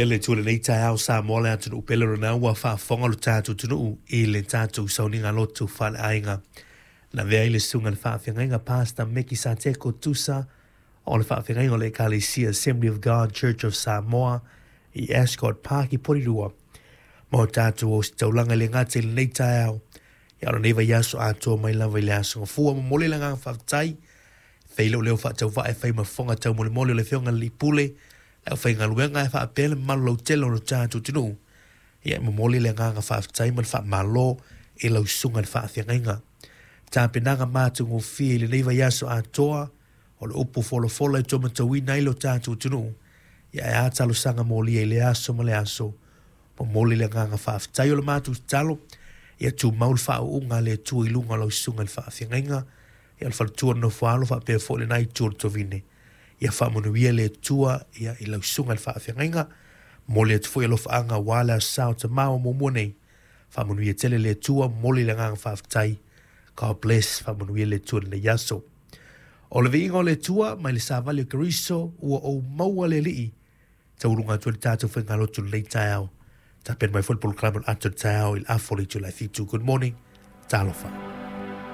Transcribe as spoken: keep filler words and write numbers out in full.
Faamanuia le Atua i lenei taeao Samoa le atunuu pele lona ua faafofoga lo tatou atunuu i le tatou sauniga lotu faaleaiga. Na avea ai le susuga i le faafeagaiga Pastor Meki Sateko Tusa o le faafeagaiga o le Ekalesia Assembly of God Church of Samoa i Ascot Park i Porirua. Ma o tatou ositaulaga i le gata i lenei taeao. Ia o lenei vaiaso atoa mai lava i le aso Gafua. Momoli le agaga faafetai. Fai lou leo faatauvaa e fai ma fofoga taumolimoli o le Afioga i le Alii Pule, le aufaigaluega e faapea le mamalu lautele o lo tatou atunuu. Ia e momoli le agaga faafetai ma le faamalo i lau susuga i le faafeagaiga. Tapenaga matagofie i lenei vaiaso atoa o le upu folafola e taumatauina ai lo tatou atunuu. Ia e a talosaga molia i le aso ma le aso. Momoli le agaga faafetai o le matou tatalo. Ia tumau le faauuga a le Atua i luga o lau susuga i le faafeagaiga. Ia o le faletua o le nofo a alo faapea foi lena itu o le tovine. Ia faamanuia le Atua ia i lau susuga i le faafeagaiga. Momoli atu foi alofaaga aua le aso Sa o Tama ua muamua nei. Faamanuia tele le Atua, momoli le agaga faafetai. God bless, faamanuia le Atua i lenei aso. O le viiga o le Atua mai le savali o Keriso ua ou maua le Alii. Taualuga atu ai le tatou faigalotu i lenei taeao. Tapena mai foi le polokalame o le ato o le taeao i le afa o le itula e fitu. Good morning. Talofa.